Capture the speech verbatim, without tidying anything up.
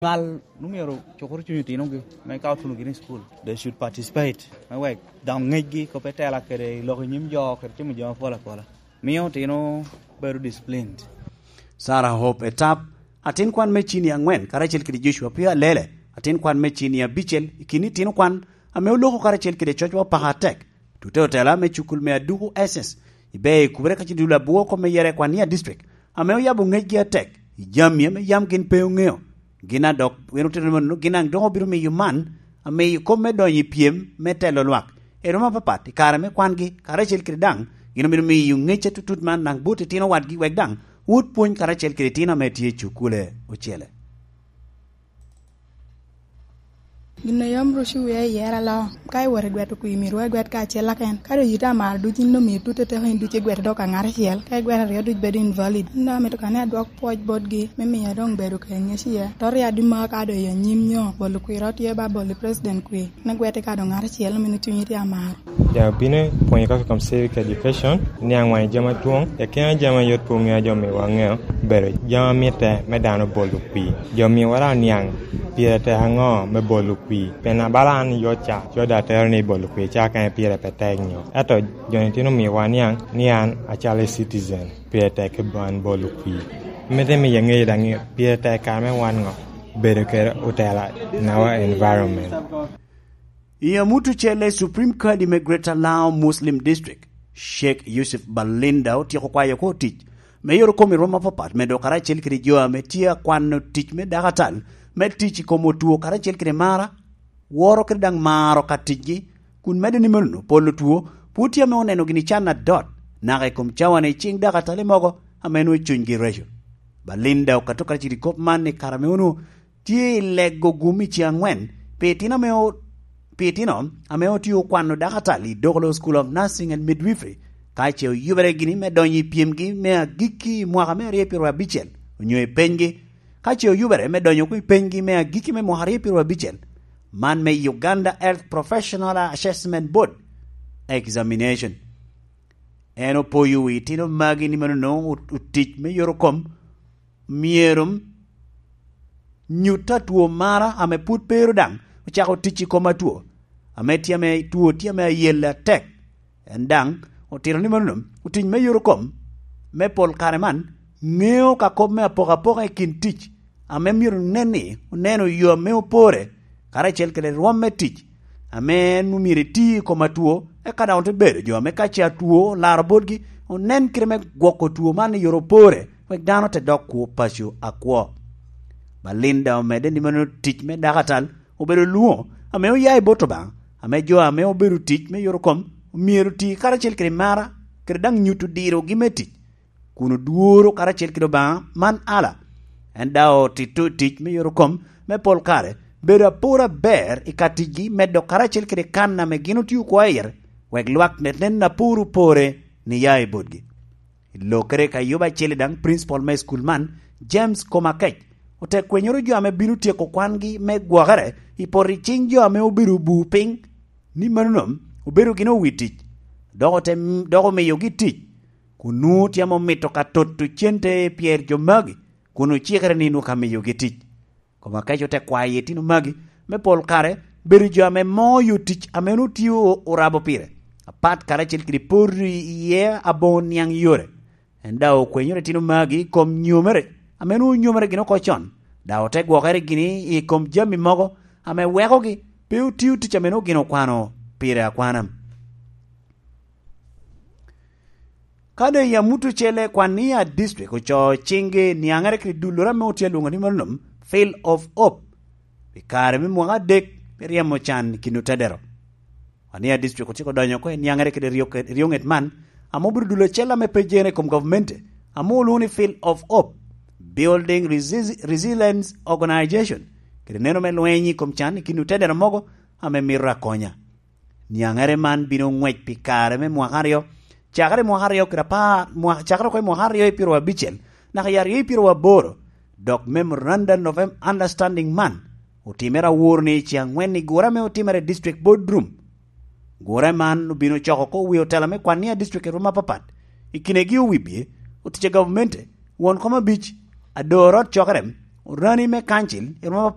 Nywal omyero cukuru cuny otinogi me ka otuno gini i cukul. They should participate. Me wek dok ngecgi kop etela kede lok i nyim jo kede timo jo apol apola. Mio otino bedo disciplined. Sarah Hope Etap, atin kwan me cini angwen, karacel kede Joshua Pio Alele, atin kwan me cini abicel, i kin itino kwan ame oloko karacel kede cocwa paka atek. Tute otela me cukul me Aduku S S, ibe i kubere ka ci dulo abwo kop me yere kwan nia district, ame oyabo ngecgi atek, i jami ame yam gin pe oŋeo. Gin a dok, gin otito nono, gin daŋ dok obino miyo man, amiyo kop me donyo i pyem me telo lwak. I roma apapat, i kare me kwangi, karacel kede daŋ, gin obino miyo ngec atutut man daŋ bot itino wadgi wek daŋ wot pwony karacel kede itino ame tye i cukule ocele. Gin a yam ruco wia i yero aloo, ka iwot i gweto kwir, myero wa igwet kacel aken. Ka doŋ yite amaro duc, in omio tute teko in duc igwete dok aŋat acel, ka igwet aryo duc bedo invalid. In daŋ amito ka ni adwok pwoc botgi, me miyo doŋ bedo ka i ŋec iye. To ryaddi maka ka doŋ i anyim nyo bolo kwir ot tye ba bolo i president kwir, me gwete ka doŋ ŋat acel, omino cunyi tye amaro. Ja bino pwonyo kaka kom civic education, niaŋ wang jami adwoŋ, i akina jami a yot pe oŋeo, jo miwa ŋeo, bedo jami a mitte me dano bolo kwir. Jo miwa daŋ niaŋ pire tek aŋo me bolo kwir. Pien abala an yot ca, yot atero ni bolo kwir ca kene pire pe tek nyo. Ento jo ni tino miwa niaŋ ni an acalo citizen, pire tek kede an bolo kwir. Mitte miyo aŋeyo daŋ ni pire tek kare me wan ŋo, bedo kede otela in our environment. I amut ocele, Supreme Kadi me Greater Lao Muslim District, Sheikh Yusuf Balinda otyeko kwayo oko tic me yoro kom i rwom apapat, medo karacel kede jo ame tye akwano tic me dakatal, me tic i kom otwo karacel kede mara, woro kede daŋ maro ka ticgi, kun medo ni meno pol otwo pwod tye ame oneno gini can adot, naka i kom cawane i ciŋ dakatali mogo ame nwoŋo cunygi reco. Balinda okato karacel i kop man i kare ame onwoŋo tye i lego gum i ce aŋwen pi itino ame o-, pi itino ame otye okwano dakatal i Dokolo School of Nursing and Midwifery, ka ce oyubere gini me donyo i pyemgi me agikki i mwaka me aryo pyeraryo abicel, onyo i penygi, ka ce oyubere me donyo oko i penygi me agikki me mwaka aryo pyeraryo abicel, man me Uganda Health Professional Assessment Board Examination. En opoyo wi itino magi ni mano nwoŋo ot-, otic me yoro kom myero nyut atwo mara ame pwod pe ero daŋ ocako tic i kom atwo, ame tye ame two tye ame ayelle atek. En daŋ otito ni mano otic me yoro kom me pol kare man ŋeo ka kop me apokapoka i kin tic, ame myero nen ni oneno yo ame opore, karacel kede rwom me tic, ame en omyero eti i kom atwo, eka daŋ ote bedo jo ame ka ce atwo olaro botgi, onen kite me gwoko two man i yore opore, wek dano te dok kwo paco akwo. Balinda omedde ni mano tic me dakatal obedo lwoŋo ame oya i bot Obaŋa, ame jo ame obedo tic me yore kom omyero oti karacel kede mara, kede daŋ nyuto dirogi me tic, kun odworo karacel kede Obaŋa man ala. En daŋ otito tic me yore kom me pol kare, bedo apor aber i ka ticgi, medo karacel kede kan ame gin otio kwo i yere, wek lwak nen apor opore ni ya i botgi. I lokere ka yubo acel daŋ, principal me school man, James Komakec, ote kwenyoro jo ame bino tyeko kwangi me gwokere i poto i ciŋ jo ame obedo obu piny, ni mano obedo gin owi tic, dok ote, dok omiyogi tic, kun nwoŋo tye ame omito ka toto cente pyer jo magi, kun ocikere ni nwoŋo ka miyogi tic. Komakec ote kwayo itino magi me pol kare bedo jo ame moyo tic ame onwoŋo tye o-, orabo pire, apat karacel kede poto iye aboŋo niaŋ yore. En daŋ okwenyoro itino magi i kom nyomere ame onwoŋo nyomere gin oko con, daŋ ote gwokere gini i kom jami mogo ame wekogi pe otio tic ame onwoŋo gin okwano pire akwana. Ka doŋ i amut ocele, Kwania District ocoo ciŋgi niaŋere kede dulloro ame otye alwoŋo ni mano Field of Hope pi kare me mwaka adek me ryemo can i kin otedero. Kwania District otyeko donyo oko i niaŋere kede ryo-, ryoŋet man, ame obedo dul acel ame pe jere i kom gavumenti, ame olwoŋo ni Field of Hope Building Resi-, Resilience Organization, kede neno me lweny i kom can i kin otedero mogo ame mito akonya. Niaŋere man bino ŋwec pi kare me mwaka aryo, cakere i mwaka aryo kede apar, mwa-, cakere oko i mwaka aryo i pyeraryo abicel, naka i aryo i pyeraryo aboro, dok Memorandum of Understanding man otimere awor ni i ce aŋwen i gure ame otimere i District Board Room. Gure man obino coko oko wi otela me Kwania District i rwom apapat, i kinegi owibie, otic a gavumenti, won kom abic, ador ot cokere, orani me kancil, irwom